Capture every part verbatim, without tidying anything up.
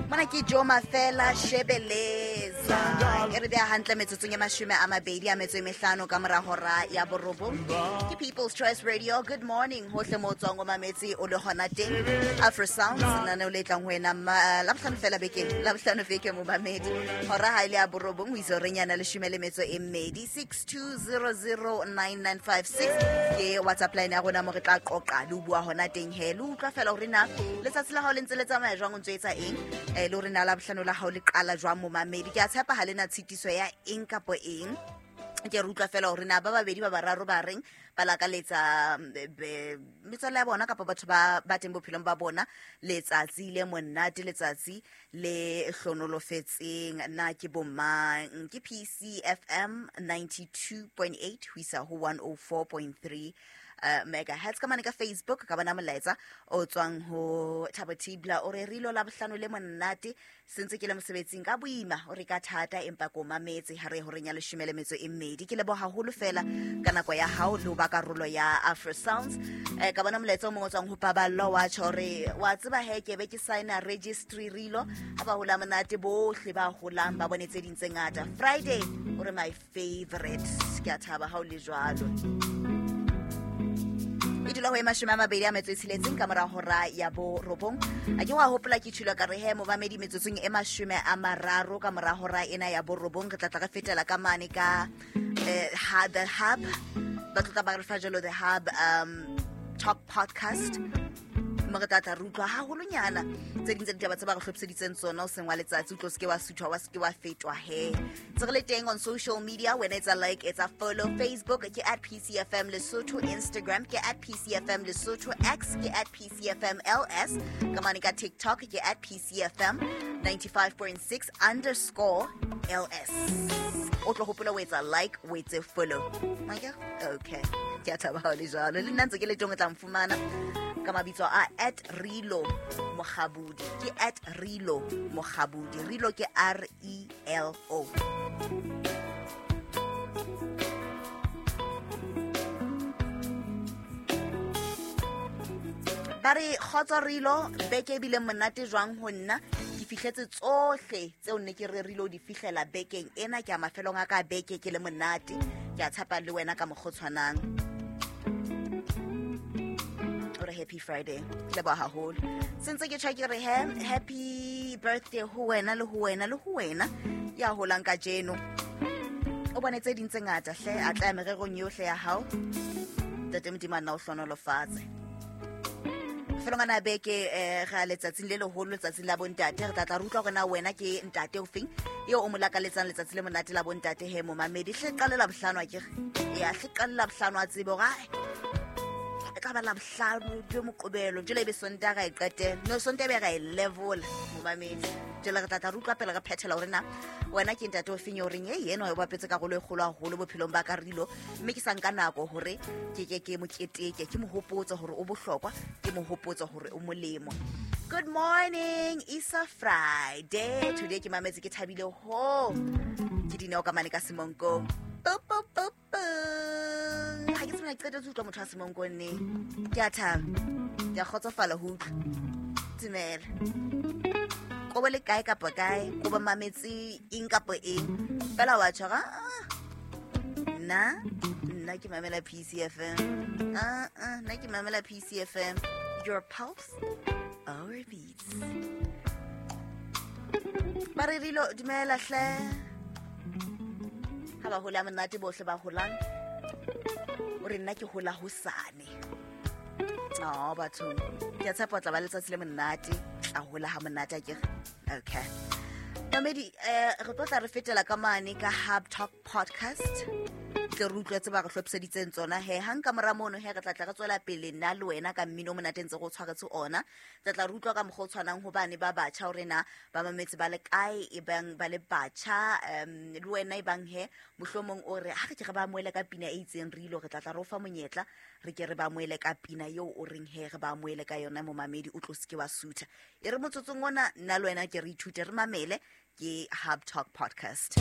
Mona ke Joe Mafela Shebeleza. E re beha hantle metsotsong e mashome a mabedi a metso e mehlano ka mora hora ya borobong. Ke People's Choice Radio. Good morning hohle mo tswang o mametse o le hona teng. Afro Sounds lenaneo le tlang ho wena Labohlano fela bekeng. Labohlano beke mo mamedi. Hora ha ile ya borobong ho isa horeng yana leshome le metso e mmedi. six two zero zero nine nine five six ke WhatsApp line ya rona mo re tla qoqa le ho bua hona teng he. Le utlwa fela hore na letsatsi la hao le ntse le tsamaya jwang o ntso etsa eng. Eh le hore na Labohlano la hao le qala jwang momamedi. Ke a tshepa ha le na tshitiso ya eng kapo eng. Ke re utlwa fela hore na ba babedi ba bararo ba reng ba lakaletsa metswalle ya bona kapa batho ba ba teng bophelong ba bona letsatsi le monate, letsatsi le hlonolofetseng. Na ke bomang? Ke P C F M ninety-two point eight ho isa ho one oh four point three uh, megahertz. Ka mane ka Facebook ka bona molaetsa o tswang ho Thabo Tibla o re rilo Labohlano le monate sentse ke le mosebetsing ka boima o re ka thata empa ko mametse ha re horeng ya leshome le metso e mmedi. Ke leboha haholo fela ka nako ya hao le ho ba karolo ya Afro Sounds. Eh, ka bona molaetsa o mongwe o tswang ho Paballo wa tjho re wa tseba he ke be ke signa registry rilo ha ba hola monate bohle ba holang ba bone tse ding tse ngata. Friday o re my favorite. Ke a thaba ha o le jwalo. E dula ho e mashome a mabedi a metso e tsheletseng ka mora hora ya borobong. A ke wa hopola ke tshilo ka re he momamedi metsotsong e mashome a mararo ka mora hora ena ya borobong re tla tla re fetela ka mane ka eh, The Hub. Ba tla ba re fa jalo The Hub um Talk Podcast. Mo re tla tla re utlwa haholonyana tse ding tsa ditaba tse ba re hlophiseditseng tsona o seng wa letsatsi o tlo se ke wa suthwa wa se ke wa fetwa he. Tse re le teng on social media wena etsa like etsa follow. Facebook ke at P C F M Lesotho, Instagram ke at P C F M Lesotho, X ke at P C F M L S, ka mane ka TikTok ke at P C F M ninety-five point six underscore L S. O tlo hopola o etsa like o etse follow. Okay, ke a thaba ha o le jwalo. Le nna ntse ke le teng o tla mfumana ka mabitso a at Rilo Mokgabudi. Ke at Rilo Mokgabudi. Rilo ke R E L O. Ba re kgotso Rilo, beke ebile monate jwang ho nna. Ke fihletse tsohle tseo nne ke rerile ho di fihlela bekeng ena. Ke a mafelong a ka beke ke le monate. Ke a tshepa le wena ka mokgwa o tshwanang. Happy Friday. Ke leboha haholo. Sentse ke tjha ke re he happy birthday ho wena le ho wena le ho wena ya holang kajeno. O bone tse ding tse ngata hle a tla mererong yohle ya hao. Ntate Modimo a nna o hlonolofatse. Felong ana beke eh ga letsatsing le leholo letsatsing la bontate re tla tla re utlwa hore na wena ke ntate ofeng eo o mo lakaletsang letsatsi le monate la bontate he momamedi. Hle qalela bohlano a ke re ya hle qalela bohlano a tsebe hore e tla ba Labohlano be Moqebelo jwale ebe Sontaha ra e qetela. No Sontaha be ra e level momamedi. Jwale re tla tla re utlwa pele re phethela hore na wena ke ntate o feng o reng e yena o bapetse karolo e kgolo haholo bophelong ba ka Rilo mme ke sa nka nako hore ke ke ke mo keteke ke mo hopotse hore o bohlokwa ke mo hopotse hore o molemo. Good morning, it's a Friday. Today ke mametse ke thabile ho. Ke dineo ka mane ka Semonkong. Pop pop pop. Ha ke tsena qeta tse utlwa motho a Semonkong ne. Ke a thaba. Ke a kgotsofala ho utlwa. Dumela. Ko bo le kae kapa kae, ko ba mametse eng kapa eng. Fela wa tshwara. Nna, nna ke mamela P C F M. Ah ah, nna ke mamela P C F M. Your pulse, our beats. Ba re Rilo dumela hle. Ha ba hola monate bohle ba holang. O re nna ke hola hosane. Oh, batho. Ke a tshepa o tla ba letsatsi le monate. Tla hola ha monate akere. Okay. Mamedi, eh re tlo tla re fetela ka mane ka Hub Talk Podcast. Tle re utlwetse ba re hlophiseditseng tsona he. Hang ka mora mono he re tla tla re tswela pele nna le wena ka mmino o monate ntse go tshwaretse ona. Tla tla re utlwa ka mokgwa o tshwanang hobane ba batjha hore na ba mametse ba le kae e bang ba le batjha um le wena e bang he mohlomong o re ha re ke re ba amohele ka pina e itseng Rilo re tla tla re o fa monyetla re ke re ba amohele ka pina eo o reng he re ba amohele ka yona momamedi o tlo se ke wa sutha. E re motsotsong ona nna le wena ke re ithute re mamele ke Hub Talk Podcast.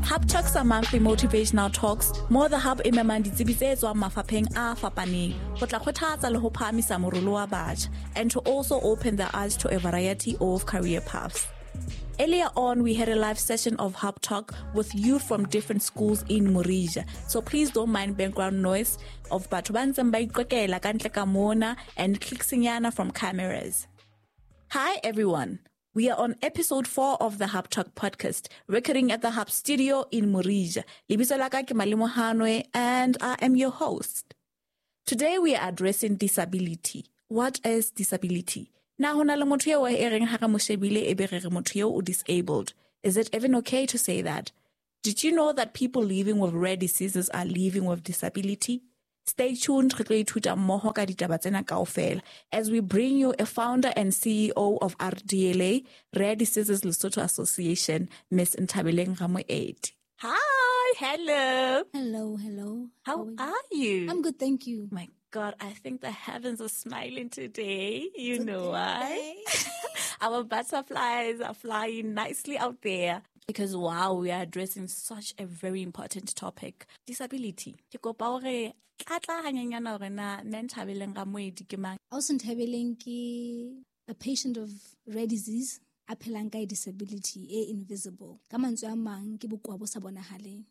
Hub Talks are monthly motivational talks mo The Hub e memang ditsebi tse tswang mafapheng a fapaneng ho tla kgothatsa le ho phahamisa morolo wa batjha and to also open their eyes to a variety of career paths. Earlier on, we had a live session of Hub Talk with youth from different schools in Morija. So please don't mind background noise of batho ba ntseng ba iqokela ka ntle ka mona and clicksinyana from cameras. Hi everyone. We are on episode four of the Hub Talk podcast, recording at the Hub Studio in Morija. Lebitso la ka ke Malemo Hanwe and I am your host. Today we are addressing disability. What is disability? Na ho na le motho eo e reng ha re mo shebile e be re re motho eo o disabled. Is it even okay to say that? Did you know that people living with rare diseases are living with disability? Stay tuned, re tlo ithuta mmoho ka ditaba tsena kaofela as we bring you a founder and C E O of R D L A, Rare Diseases Lesotho Association, Miss Nthabeleng Ramoedi. Hi, hello. Hello, hello. How, How are you? are you? I'm good, thank you. My God, I think the heavens are smiling today. You It's a know good why? day. Our butterflies are flying nicely out there. Because, wow, we are addressing such a very important topic. Disability. Ke kopa hore tlatla hanyenyana hore na mme Nthabeleng Ramoedi ke mang? Ausi Nthabeleng ke a patient of rare disease, a phelang ka disability e invisible. Ka mantswe a mang ke bokowa bo sa bonahaleng.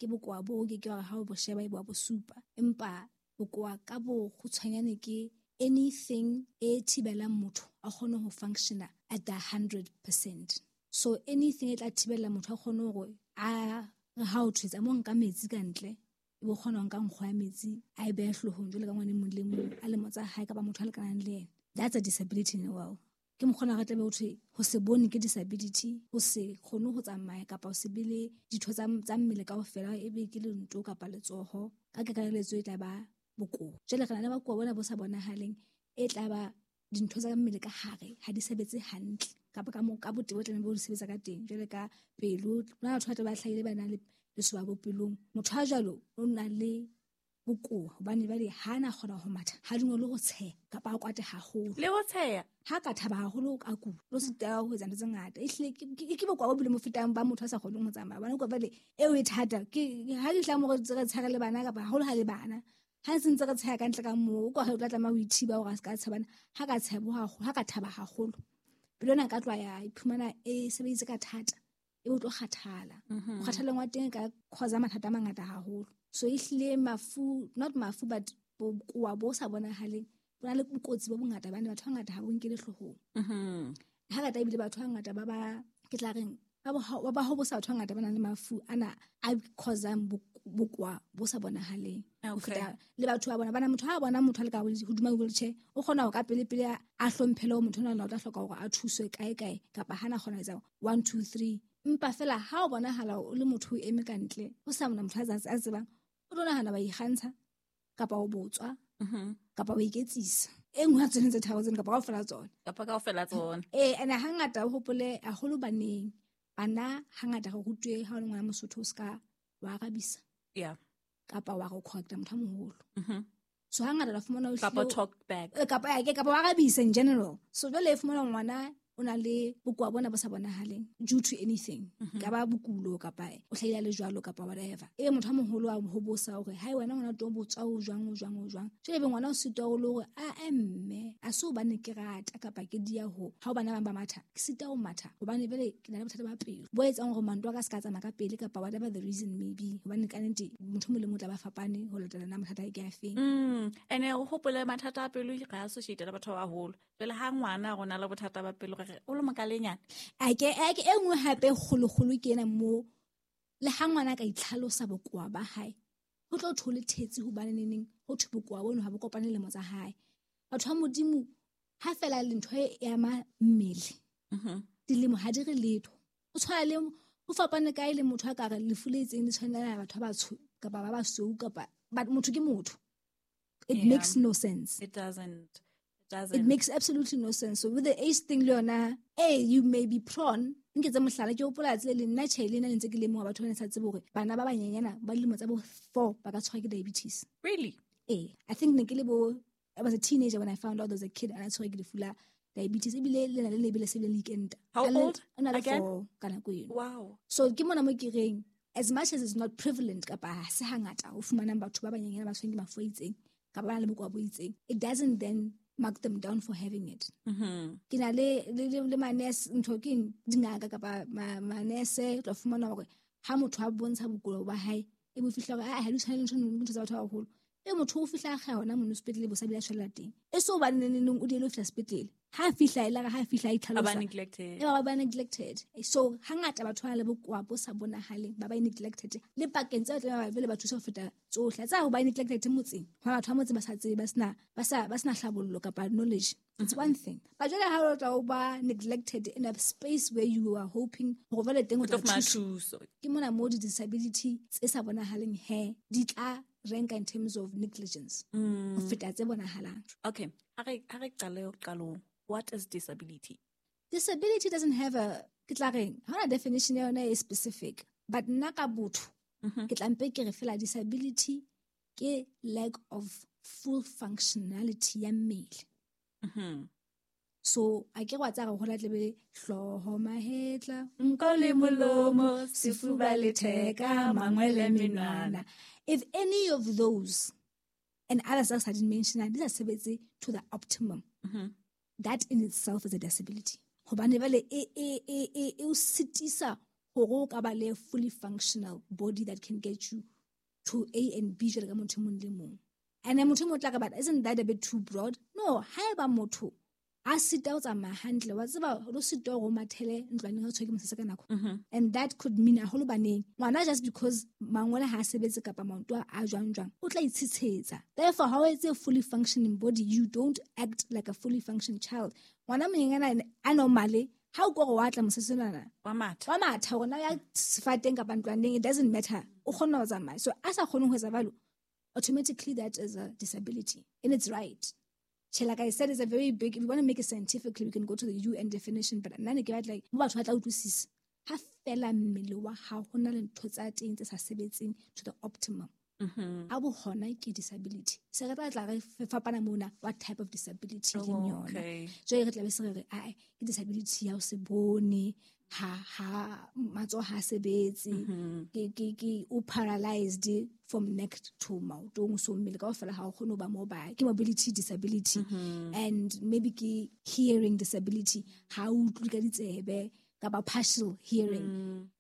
Ke bokowa bo ke ke hore ha o bo sheba e bo a bo supa. Empa bokowa ka bo kgutshwanyane ke anything e thibelang motho a kgone ho functiona at the hundred percent. So anything e tla thibela motho a kgone hore a re ha o thwetsa mo nka metsi ka ntle, e bo kgona ho nka nkgo ya metsi a e behe hloohong jwalo ka ngwana e mong le mong a lemo tsa hae kapa motho a lekanang le yena. That's a disability in the world. Ke mokgona re tlabe ho thwe ho se bone ke disability, ho se kgone ho tsamaya kapa ho se be le ditho tsa, tsa mmele kaofela, e be ke lento kapa letsoho. Ka kakaretso e tla ba bokowa. Jwale re na le bokowa bona bo sa bonahaleng, e tla ba dintho tsa mmele ka hare ha di sebetse hantle kapa ka mo, ka botebo tlamehile bo di sebetsa ka teng. Jwale ka pelo, ho na le batho ba tla ba hlahile ba nang le lesoba bopelong. Motho a jwalo o na le bokowa hobane jwale ha na kgona ho matha, ha dingwe le ho tsheha kapa a kwate haholo. Le ho tsheha? Ha ka thaba haholo a kula, o sitwa ho etsa ntho tse ngata. Ehlile ke, ke, ke bokowa bo bile mo fetang ba motho a sa kgoneng ho tsamaya. Hobane kwa jwale eo e thata, ke ha ke tla mo re re tshare le bana kapa haholo ha le bana. Ha se ntse re tsheha ka ntle ka moo, o kwa o tla tlameha ho ithiba hore a se ka tshabana. Ha ka tshebo haholo, ha ka thaba haholo, pelo ena ka tloha ya iphumana e sebeditse ka thata, e bo tlo kgathala. Mm-hmm. Ho kgathaleng wa teng e ka cause mathata a mangata haholo. So ehlile mafu, not mafu but bokowa bo sa bonahaleng, bo na le bokotsi bo bongata bane batho ba bangata ha bo nkele hloohong. Mm-hmm. Hangata ebile batho ba bangata ba ba, ke tla reng, ba bo ha, ba ba hobosa batho ba bangata ba nang le mafu ana a causang bo-, bokowa bo sa bonahaleng. Ho Okay. feta le batho ba bona, bana motho ha a bona motho a le ka hodima wheelchair, o kgona ho ka pele pele a, a hlomphele hore motho ona o tla hloka hore a thuswe kae kae kapa hana kgona ho etsa one two three. Empa fela ha o bonahala o le motho o eme ka ntle, ho sa mona motho a tsa-, a tsebang, o tlo nahana ba ikgantsha kapa o botswa Mm-hmm. kapa o iketsisa. E nngwe ya tsone tse tharo tseno kapa kaofela tsona. Kapa kaofela tsona. Eh, ene hangata o hopole haholo baneng. Bana hangata re rutwe ha o le ngwana Mosotho o ska wa arabisa. Yeah. Kapa wa go correcta motho a moholo. Mm-hmm. So hangata la fumana o Kapa hlile o talk back. Eh, kapa, eh, ke, kapa wa arabisa in general. So jwale e fumana ngwana o na le bokowa bona bo sa bonahaleng due to anything. Mm-hmm. Ka ba bokulo kapa o hlahile a le jwalo kapa whatever. Ebe motho a moholo a hobosa hore hai wena ngwana tlo botswa o jwang, o jwang, o jwang. Jwale ebe ngwana o sitwa o le hore, a, eh, mme, a se hobane ke rata kapa ke dia ho. Ha o bana bang ba matha, ke sitwa ho matha hobane jwale ke na le bothata ba pelo. Bo etsang hore manto a ka se ka tsamaya ka pele kapa whatever the reason may be. Hobane ka nnete motho o mong le mong o tla ba fapane ho latela na mathata a ke a feng. Mm, ene o hopole mathata a pelo re a associate le batho ba baholo. Jwale ha ngwana a rona le bothata ba pelo re re o le mokalenyana. A ke, a ke e nngwe hape kgolokgolo ke ena mo le ha ngwana a ka itlhalosa bokowa ba hae, ho tlo thole thetsi hobane neneng ho thwe bokowa bono ha bo kopane le lemo tsa hae. Batho ba Modimo ha fela le ntho e ama mmele, Mm-hmm. dilemo ha di re letho. O tshwana le, ho fapane kae le motho a ka re lefu le itseng le tshwanela batho ba batsho kapa ba basweu kapa, but motho ke motho. It Yeah. makes no sense. It doesn't. It doesn't. It makes absolutely no sense. So with the age thing, le yona, hey, you may be prone. Nke tse mohlala, ke hopola tsela le nna tjhe, le nna le ntse ke lemoha batho ba ne sa tsebe hore bana ba banyenyana ba dilemo tsa bo four ba ka tshwarwa ke diabetes. Really? Eh, I think ne ke le bo, I was a teenager when I found out there was a kid and I tshwerwe ke lefu la diabetes. Ebile le na le lebele se le le ikenta. How A le- old o na le again? four ka nako eno. Wow. So ke mona mo ke reng, As much as it's not prevalent, kapa ha se hangata ho fumanang batho ba banyenyane ba tshwerweng ke mafu a itseng, kapa ba nang le bokowa bo itseng, it doesn't then mark them down for having it. Mm-hmm. Ke na le, le, le, le manese, ntho ke eng, dingaka kapa ma-, manese, o tla fumana hore ha motho a bontsha bokowa ba hae, e bo fihla hore, ah, ha di tshwane le ntho, ntho tsa batho ba baholo. E motho o fihla a kga hona mono sepetlele, bo sa bile a shwella teng. E so hobane neng neng o diehile ho fihla sepetlele. Ha a fihla, e la re ha a fihla a itlhalosa. Ba ba neglected. E ba ba neglected. So hangata batho ba nang le bokowa bo sa bonahaleng, ba ba neglected. Le pakeng tseo tlameha ba be le ba thusa ho feta tsohle. Tsa ho ba neglected motseng. Ha batho ba motse ba sa tsebe, ba sena, ba sa, ba sena hlabollo kapa knowledge. It's one thing. But jwale ha o tla o ba neglected in a space where you are hoping hore jwale teng o tla O tlo fumana thuswa. thuso. Ke mona mo di-disability tse sa bonahaleng he, di tla rank in terms of negligence. Mm. Ho feta tse bonahalang. Okay. Ha re, ha re qale qalong, what is disability? Disability doesn't have a, ke tla reng, ha hona definition ya yona e specific. But nna ka botho, Mm-hmm. ke tla mpe ke re fela disability ke lack of full functionality ya mmele. Mm-hmm. So, a ke re wa tsaya re hola tlebe hlooho, mahetla, nko le molomo, sefuba le theka, mangwele menwana. If any of those and others else I didn't mention, these are sebetse to the optimum. Mm-hmm. That in itself is a disability. Hobane jwale e, e, e, e, e o sitisa hore o ka ba le fully functional body that can get you to A and B jwalo ka motho e mong le mong. And then motho e mong o tla re, but isn't that a bit too broad? No, haeba motho a sita ho tsamaya hantle, wa tseba o sita hore o mathele ntlwaneng ha o tshwerwe ke mosese ka nako. Mm-hmm. And that could mean haholo baneng. Ngwana just because mangwele ha a sebetse kapa maoto a jwang jwang, o tla itshitshetsa. Therefore, ha o etse a fully functioning body, you don't act like a fully functioning child. Ngwana monyenyana a normale, ha o kore wa tla mosese onana, Wa matha. wa matha hore na ya sefateng kapa ntlwaneng, it doesn't matter. O kgona ho tsamaya. So, a sa kgoneng ho etsa jwalo, automatically that is a disability. And it's right. Che, like I said, it's a very big, if you wanna make it scientifically, we can go to the U N definition, but nna ne ke batla, like, mo batho ba tla utlwisisa. Ha fela mmele wa hao ho na le ntho tsa teng tse sa sebetseng to the optimum. Mm-hmm. A bo hona ke disability. Se re tla tla re fe-, fapana mona, what type of disability Oh, leng yona. okay. Jwale re tla be se re re, ae, ke disability ya ho se bone, ha, ha, matsoho ha sebetse, Mm-hmm. ke, ke, ke, o paralyzed from neck to maotong, so mmele kaofela ha o kgone ho ba mobile. Ke mobility disability. Mm-hmm. And maybe ke hearing disability, ha o utlwe ka ditsebe, kapa partial hearing.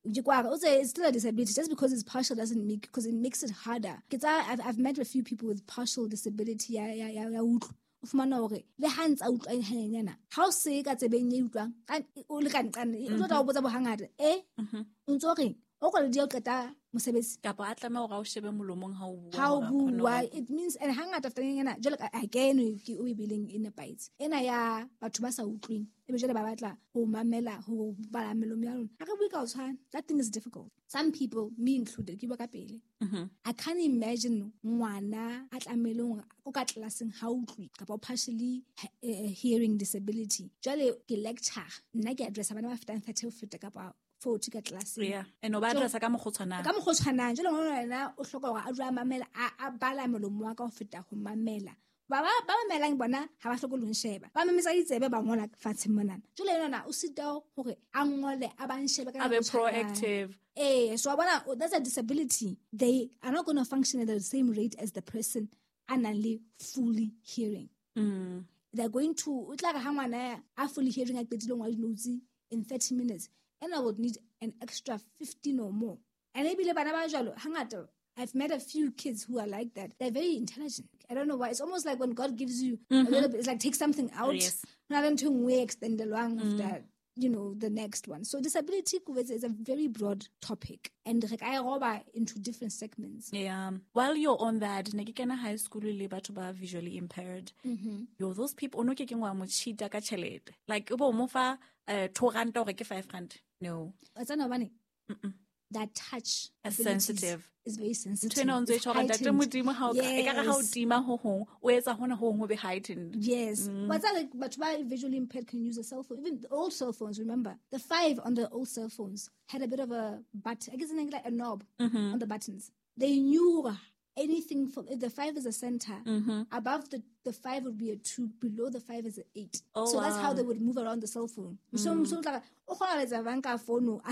Mm. Ke kwa re, o tse, it's still a disability. Just because it's partial doesn't make, 'cause it makes it harder. Ke tsa, I've, I've met a few people with partial disability ya, ya, ya, ya utlwa. O fumana hore le ha ntsa utlwa hanyenyana, ha o se ka tsebeng e utlwang, ka, o le ka nqane, o tlo tla o botsa bohangata, eh? Mm-hmm. O ntso reng? O kwale di o qeta mosebetsi. Kapa a tlameha hore a o shebe molomong ha o bua, Ha o hore a kgone bua, hore it means, and hangata after nyana, jwalo ka, again, ke o e bileng e nepahetse. Ena ya batho ba sa utlweng, ebe jwale ba batla ho mamela, ho bala melomo ya lona. Ha re bue ka ho tshwana. That thing is difficult. Some people, me included, ke bua ka pele. Mm-hmm. I can't imagine ngwana a tlamehileng hore o ka tlelaseng ha utlwe, kapa o partially he-, eh, hearing disability. Jwale ke lecture, nna ke addressa bana ba fetang thirty ho feta kapa forty ka tlelaseng. Yeah. And o ba So, addressa ka mokgwa o tshwanang. Ka mokgwa o tshwanang. Jwale ngwana yena o hloka hore a dule a mamela, a, a bala molomo wa ka ho feta ho mamela. Ba ba, ba mamelang bona ha ba hloke le ho nsheba. Ba mametsa ditsebe ba ngola fatshe monana. Jwale yena o sita hore a ngole, a ba nshebe ka A be nako e tshwanang. proactive. Eh, so wa bona, oh, that's a disability. They are not gonna function at the same rate as the person a nang le fully hearing. Mm. They're going to, o tla re ha ngwana a fully hearing a qetile ho ngola di-notes in thirty minutes, and I would need an extra fifteen or more. And ebile bana ba jwalo, hangata, I've met a few kids who are like that. They're very intelligent. I don't know why. It's almost like when God gives you a Mm-hmm. little bit, it's like take something out. Yes. Ho na le ntho e nngwe e extend-elwang Mm. after, you know, the next one. So disability is a very broad topic. And re ka e roba into different segments. Yeah. While you're on that, ne ke kena high school le batho ba visually impaired. Mm-hmm. Yo, those people, o no ke keng wa mo cheat-a ka tjhelete. Like, o bo mo fa, eh, two rand hore ke five rand. No. Wa tseba hobane? Mm-mm. That touch As abilities sensitive. is very sensitive. Ntho ena o ntso e It's tjho hore ntate heightened. Modimo ha o ka, ekare ha o Yes. tima ho hong, o etsa hona ho hong ho be heightened. Yes. Mm. What's that? Like, but why visually impaired can use a cell phone? Even the old cell phones, remember? The five on the old cell phones had a bit of a button. I guess it's like a knob Mm-hmm. on the buttons. They knew Anything from, if the five is a center, mm-hmm. above the, the five would be a two, below the five is an eight. Oh, so that's wow. how they would move around the cell phone. Mm. So, so like, Virtual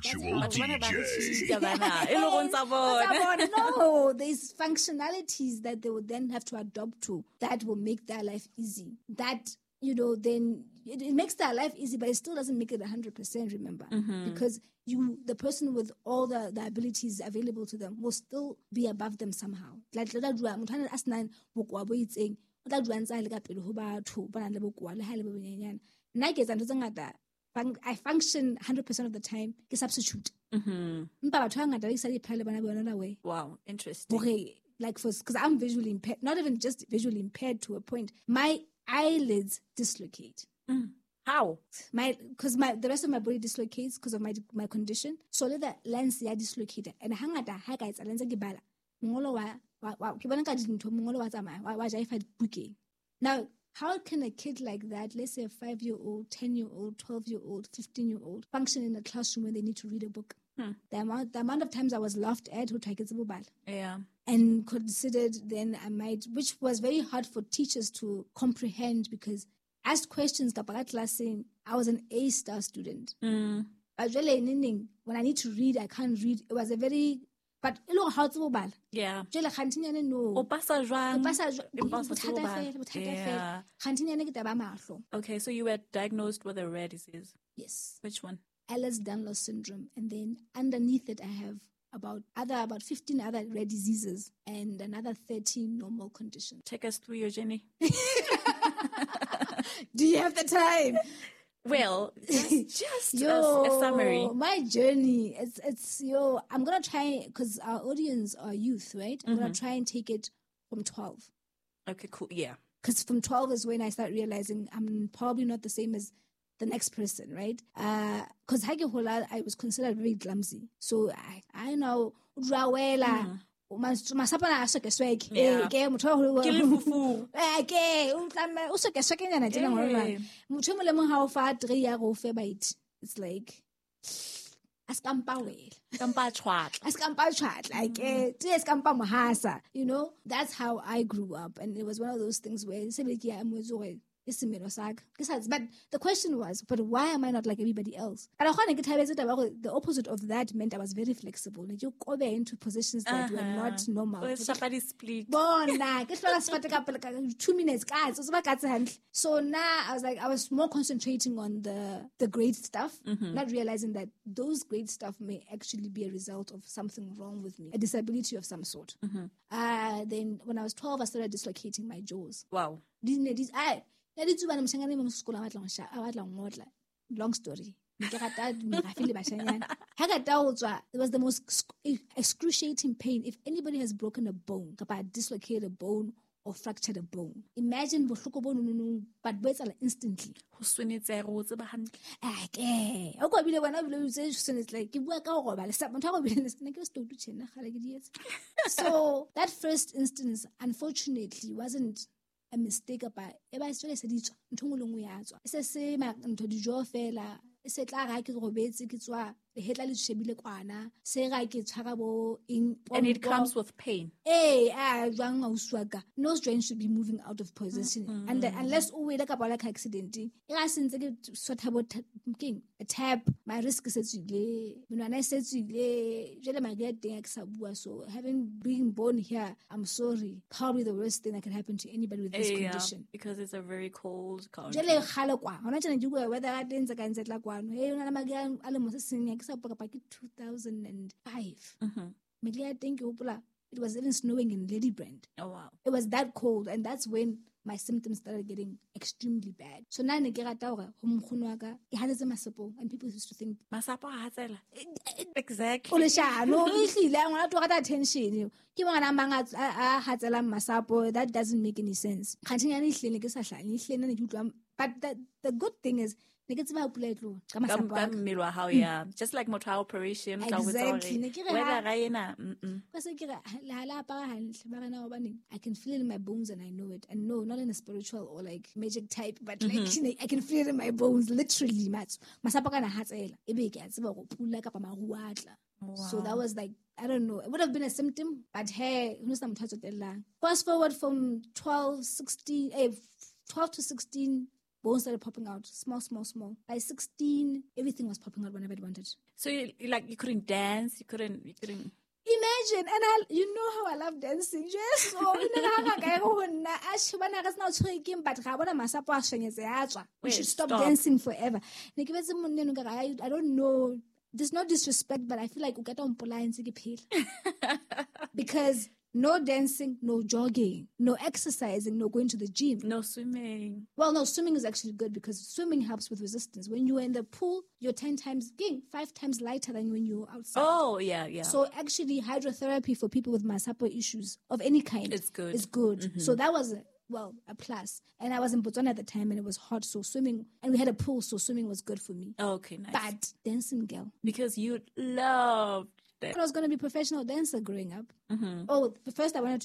D J. No, there's functionalities that they would then have to adopt to that will make their life easy. That, you know, then it, it makes their life easy, but it still doesn't make it one hundred percent, remember. Mm-hmm. Because you, the person with all the, the abilities available to them will still be above them somehow. Like, I function one hundred percent of the time, ke substitute. Mm-hmm. Wow, interesting. Okay, like for, because I'm visually impaired, not even just visually impaired to a point. My eyelids dislocate. Mm. How? My, because my the rest of my body dislocates because of my my condition. So le lens ya dislocate and hangata ha ka etsa lens ke bala. Mongolo wa wa ke bona ka dintho mongolo wa tsamaya wa jaifa bukeng. Now, how can a kid like that, let's say a five-year-old, ten-year-old, twelve-year-old, fifteen-year-old, function in a classroom when they need to read a book? Hmm. The amount the amount of times I was laughed at, yeah, and considered then I might, which was very hard for teachers to comprehend because asked questions, I was an A-star student. Mm. But really, when I need to read, I can't read. It was a very, but yeah. No. Yeah. Okay, so you were diagnosed with a rare disease. Yes. Which one? Ehlers-Danlos syndrome. And then underneath it, I have about other about fifteen other rare diseases and another thirteen normal conditions. Take us through your journey. Do you have the time? Well, just, just yo, a, a summary. My journey, it's, it's yo, I'm going to try, because our audience are youth, right? I'm mm-hmm. going to try and take it from twelve. Okay, cool, yeah. Because from twelve is when I start realizing I'm probably not the same as the next person, right? Because uh, I was considered very clumsy. So I, I know, mm. masapana a soke-sweke. Yeah. Ke motho wa Ke lefufu. Eh, ke o tlamme o soke-swekenyana tjena ngwana. Motho e mong le mong ha o fa three ya go fe bite. It's like a skampa wela. Skampa tshwatla. A skampa tshwatla. Ke tse skampa mohasa. You know, that's how I grew up, and it was one of those things where se be ke a amohetse hore But the question was, but why am I not like everybody else? And the opposite of that meant I was very flexible. Like you go into positions that uh-huh. were not normal. Two minutes, so now I was like, I was more concentrating on the, the great stuff, mm-hmm. not realizing that those great stuff may actually be a result of something wrong with me, a disability of some sort. Mm-hmm. Uh, then when I was twelve, I started dislocating my jaws. Wow. I Long story. It was the most excruciating pain. If anybody has broken a bone, dislocated a bone, or fractured a bone, imagine but instantly. So that first instance, unfortunately, wasn't a mistake about e ba se se ditswa ntho ngwe le ngwe ya tswa e se se ntho dijo fela e se tla ga ke robetse ke tswa lehetla le shebile kwana se ga ke tshwara bo eng and it comes with pain eh ah jwang ausi wa ka nose joint should be moving out of position mm-hmm. and unless o wele ka ba like accident e ga sentse ke sotha bo keng a tap my risk se tswile menwana e se tswile jele madi a teng a ke sa bua so having been born here I'm sorry probably the worst thing that can happen to anybody with this yeah, condition because it's a very cold country jele kgale kwa hona tjena ke bua weather ya teng tse ka ntse tla kwano hey ona le madi a le mo se seng ke sa two thousand five. Mm-hmm. It was even snowing in Ladybrand. Oh, wow. It was that cold, and that's when my symptoms started getting extremely bad. So now I get and people used to think masapo a hatsela. Exactly. That doesn't make any sense. But the, the good thing is yeah, just like motor operation. Exactly. I can feel it in my bones and I know it. And no, not in a spiritual or like magic type, but like mm-hmm. I can feel it in my bones, literally. Wow. So that was like I don't know. It would have been a symptom, but hey, ho no sena motho a tsotellang. Fast forward from twelve, sixteen, eh, twelve to sixteen, bones started popping out. Small, small, small. By sixteen, everything was popping out whenever I wanted. So you, you like you couldn't dance, you couldn't, you couldn't. Imagine, and I, you know how I love dancing. Yes, so you know how I go na ash bana re sna tshwere keng, but ga bona masapo a shwenyetse a tswa. We Wait, should stop, stop. dancing forever. Ne ke betse monna eno ka re, I, I don't know. There's no disrespect, but I feel like o ka tla o mpolaya ntse ke phela. Because no dancing, no jogging, no exercising, no going to the gym. No swimming. Well, no, swimming is actually good because swimming helps with resistance. When you're in the pool, you're ten times, again, five times lighter than when you're outside. Oh, yeah, yeah. So actually, hydrotherapy for people with masapo issues of any kind. It's good. It's good. Mm-hmm. So that was, well, a plus. And I was in Botswana at the time and it was hot, so swimming, and we had a pool, so swimming was good for me. Oh, okay, nice. But dancing, girl. Because you loved it. I was gonna be a professional dancer growing up. Mm-hmm. Oh, first I wanted to